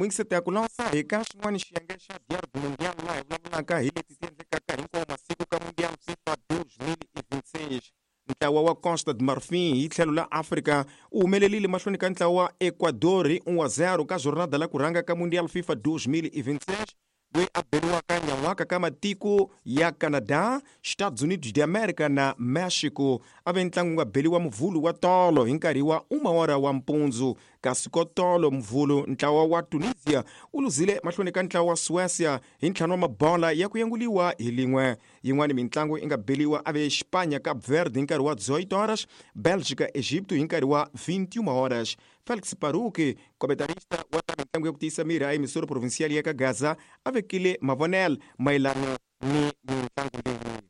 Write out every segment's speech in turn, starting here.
Muyingiseti ku lansa hi ka xin'wana xiyenge xa Diário do Mundial laha hi vulavulaka hi leti ti endlekaka hinkwawo masiku ka Mundial FIFA 2026. Ntlawa wa Costa de Marfin hi tlhelo la Afrika u humelerile mahlweni ka ntlawa wa Ecuador hi 1-0 ka jornada la ku rhanga ka Mundial FIFA 2026 loyi a beriwaka nyan'waka ka matiko ya Canada, Estados Unidos de America na Mexico. A ve ntlangu nga beliwa muvhulu wa tolo hi nkarhi wa umawara wa mpundzu. Kasi ko tolo muvhulu ntlawa wa Tunisia u luzile mahlweni ka ntlawa wa Suecia hi ntlhanu wa mabola ya ku yanguliwa hi lin'we. Yin'wana mintlangu yi nga beliwa a ve Xipanya Cape Verde hi nkarhi wa 18 horas, Belgica Egipto hi nkarhi wa 21 horas. Felix Paruki, komentarista wa ta mitlangu ya ku tiyisa miri a emisoro provincial ya ka Gaza, a vekile mavonelo mayelana ni mitlangu leyi.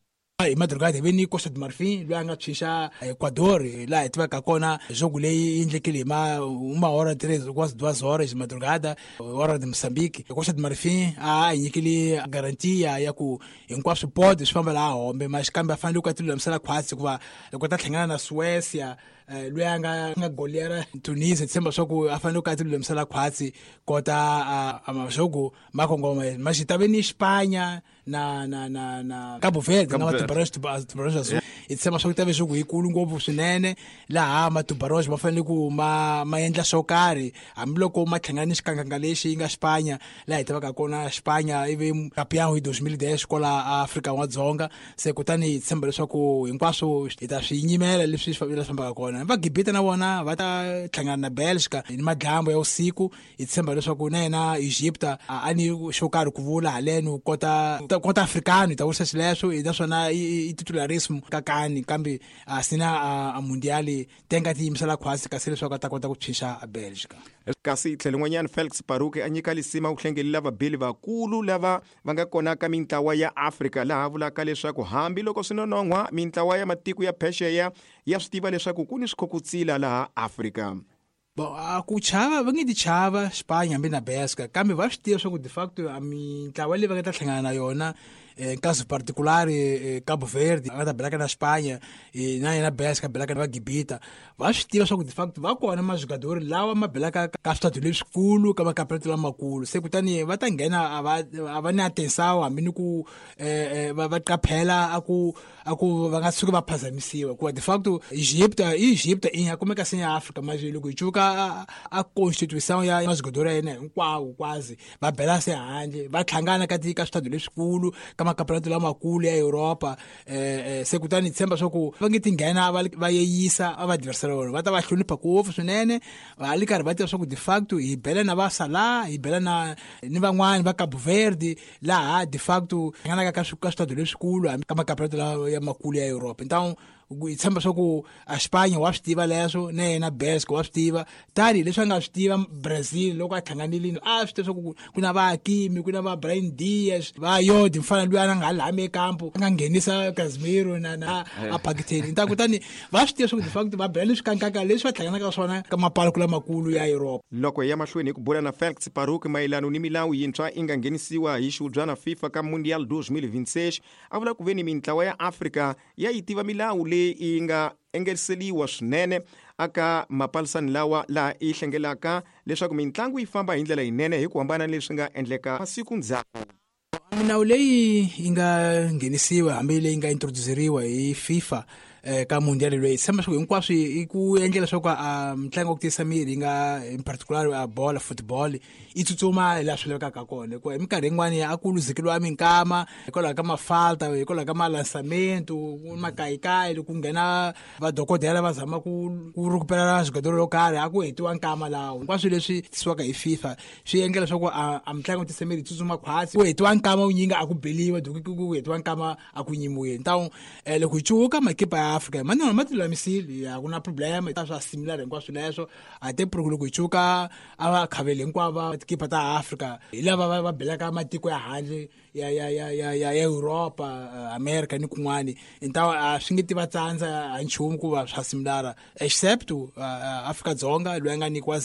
Hi madrugada hi ve ni Costa de Marfin loyi a nga tshunxa Ecuador laha hi tivaka kona jogo leyi yi endlekile hi ma uma hora tres quase duas horas de madrugada hora de Mozambique. Costa de Marfin a hi nyikile garantia ya ku hinkwaswo pode swi famba laha hombe mas kambe a fanele ku a ti lulamisela khwatsi hikuva loko ta hlangana na Suecia loyi a nga goleara Tunisia tshemba swa ku a fanele ku a ti lulamisela khwatsi kota a majogo ma kongoma mas ta ve ni Espanha na Cabo Verde na Tubarões Tubarões Azul. Hi tshemba swa ku ta ve swo ku yikulu ngopfu swinene laha matubarões ma fanele ku ma endla swo karhi hambiloko ma hlangana ni xikanganga lexi yi nga Espanha laha hi tivaka kona Espanha ivi campeão hi 2010 kwala Afrika wa Dzonga. Se kutani hi tshemba leswaku hinkwaswo hi ta swi nyimela leswi swi fambaka kona. Va Gibita na vona va ta hlangana na Belgica ni madyambu ya usiku. Hi tshemba leswaku na yena Egypta a ni xo karhi ku vula haleno kota africano hi ta vurisa xileswo naswona i titularismo kakani kambe a sina a mundiali tenga ti yimisela khwasi kasi leswaku a ta kota ku tshunxa a Belgica. Kasi tlhelo n'wanyana Felix Paruki a nyika lisima ku hlengelela vabeli vakulu lava va nga kona ka mintlawa ya Afrika laha vulaka leswaku hambiloko swi nonon'hwa mintlawa ya matiko ya phexeya ya swi tiva leswaku ku ni swikhokotsila laha Afrika. Bon, a ku chava va nge ti chava Spanya hambi na Belgica kambe va swi tiva swa ku de facto a mintlawa leyi va nga ta hlangana na yona caso particular Cabo Verde va ta belaka na Spanya na yena Belgica belaka na va Gibita va swi tiva swa ku de facto va kona majugadori lawa ma belaka ka switatu leswikulu ka makampionato lamakulu. Se kutani va ta nghena a va ni atenção hambi ni ku va qaphela a ku va nga tshuki va phazamisiwa hikuva de facto Egypta i nga kumeka se ya Afrika manje loko hi cuka a constitution ya majugadori ya yena hinkwawo kwazi va bela se handle va hlangana ka ka switatu leswikulu ka makampionato lamakulu ya Europa. Se kutani hi tshemba swa ku va nge ti nghena va yeyisa a va adversaire vona va ta va hlonipha ngopfu swinene va li karhi va tiva swa ku de facto hi bela na va Salah hi bela na ni van'wani va Cabo Verde laha de facto hlanganaka ka switatu leswikulu hambi ka makampionato ya makulu ya Europa. Então hi tshemba swa ku a Spanya wa swi tiva leswo na yena Belgica wa swi tiva tani leswi a nga swi tiva Brazil loko a hlanganile a swi tiva swa ku ku na va Hakimi ku na va Brahim Diaz va Yodi mfana luya a nga ha lami ekampo a nga nghenisa Casemiro na a Pakistani. Então kutani va swi tiva swa ku de facto va bela leswi kankaka leswi va hlanganaka swona ka mapaloko lamakulu ya Europa. Loko hi ya mahlweni hi ku bula na Felix Paruki mayelana ni milawu yintshwa yi nga nghenisiwa hi xihubyana FIFA ka Mundial 2026 a vula ku ve ni mintlawa ya Afrika ya yi tiva milawu leyi yi nga engeriseliwa swinene aka mapalisani lawa laha yi hlengelaka leswaku mintlangu yi famba hi ndlela yinene hi ku hambana ni leswi nga endleka masiku ndzhaku. Milawu leyi yi nga nghenisiwa hambi leyi nga introduceriwa hi FIFA ka mundial leyi tshemba swa ku hinkwaswo i ku endlela leswaku a mitlangu ya ku tiyisa miri yi nga in particular a bola football yi tsutsuma laha swi lavekaka kona hikuva hi minkarhi yin'wani a ku luzekeriwa minkama hikwalaho ka mafalta hikwalaho ka malansamento makayikayi loko ku nghena vadokodela va zama ku rhukupela swigadelo lwo karhi a ku hetiwa nkama lawo. Hinkwaswo leswi tisiwaka hi FIFA swi endla leswaku a mitlangu ya ku tiyisa miri yi tsutsuma khwatsi ku hetiwa nkama wu nyinga a ku beliwa ku hetiwa nkama a ku nyimiweni. Então loko hi cuka makipa ya Afrika manana ma ti lulamisile a ku na problem ta swa similar hinkwaswo leswo a te loko hi cuka a va khaveli hinkwavo va tikipa ta Afrika hi lava va belaka matiko ya handle ya Europa America ni kun'wani. Então a swi nge ti va tsandza a nchumu ku va swa similar except Afrika Dzonga loyi a nga nyikiwa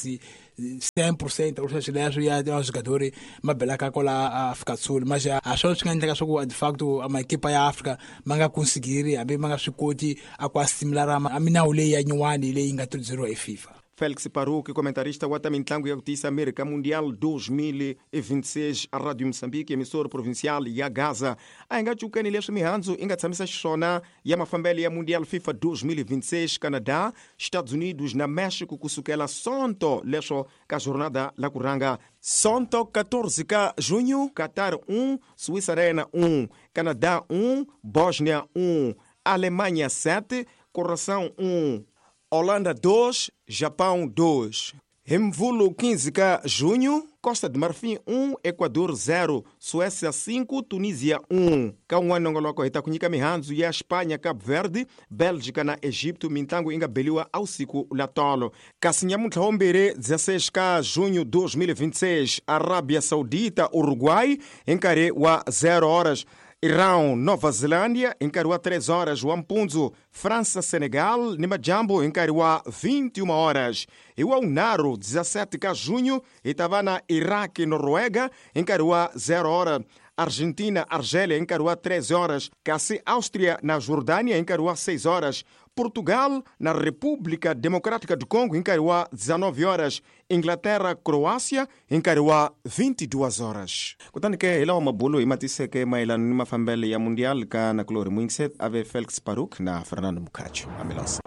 100% u sweswi leswo ya swigadori ma belaka kwala Afrika Sul mas a swona swi nga endleka swa ku de facto makipa ya Afrika ma nga consigiri hambi ma nga swi koti a ku asimilara a milawu leyi ya nyuwani leyi nga introduceriwa hi FIFA. Felix Paruque, comentarista wa ta mintlangu ya ku tiyisa miri ka Mundial 2026 a Radio Moçambique, emissora provincial ya Gaza. A hi nga cukeni leswi mihandzu i nga tshamisa xiswona ya mafambelo ya Mundial FIFA 2026 Canada, Estados Unidos na México kusukela Sonto leswo ka jornada la ku rhanga. Sonto 14 ka junho, Qatar 1, Suíça Arena 1, Canadá 1, Bósnia 1, Alemanha 7, Coração 1, Holanda 2, Japão 2. Hemvulo 15 ka junho, Costa de Marfim 1, Equador 0, Suécia 5, Tunísia 1. Ka un'wana nongoloko hi ta ku nyika mihandzu ya Espanha, Cabo Verde, Bélgica na Egipto, mintlangu yi nga beliwa ausiku la tolo. Kasi nyamuntlha wa mbirhi 16 ka junho 2026, Arábia Saudita, Uruguai, hi nkarhi wa 0 horas. Irão, Nova Zelândia, hi nkarhi wa 3 horas wa mpundzu, França, Senegal ni majambu hi nkarhi wa 21 horas. Hi wa unharhu 17 ka junho hi ta va na Iraq, Noruega hi nkarhi wa 0 hora. Argentina, Argélia hi nkarhi wa 3 horas, kasi Áustria na Jordânia hi nkarhi wa 6 horas. Portugal na República Democrática do Congo hi nkarhi wa 19 horas, Inglaterra, Croácia hi nkarhi wa 22 horas. Kutani ke hi lawa mabulo hi matiseke mayelana ni mafambelo ya Mundial ka nakulorhi Muingset ave Felix Paruk na Fernando Mukhacho. Amilosa.